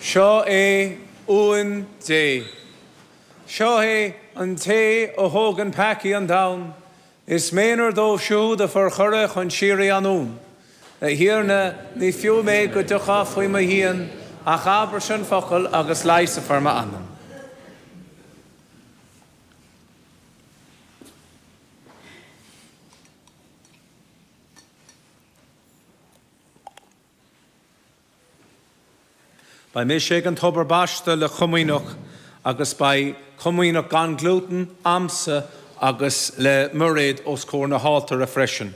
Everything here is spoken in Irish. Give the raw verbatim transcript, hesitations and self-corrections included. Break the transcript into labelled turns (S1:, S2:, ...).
S1: Seo é Uan Dé. Seo é an té a thógann peacaí an domhain, Is méanar dóibh siúd a forchuireadh chun síoraí an Uan. A Thiarna, ní fiú mé go dtiocfá faoi mo dhíon, ach abair an focal agus leigheasfar m'anam. Beidh mise ag an tobar baiste le comaoineach agus beidh comaoineach gan glútan a'msa agus le Mairéad os comhair na haltóra freisin.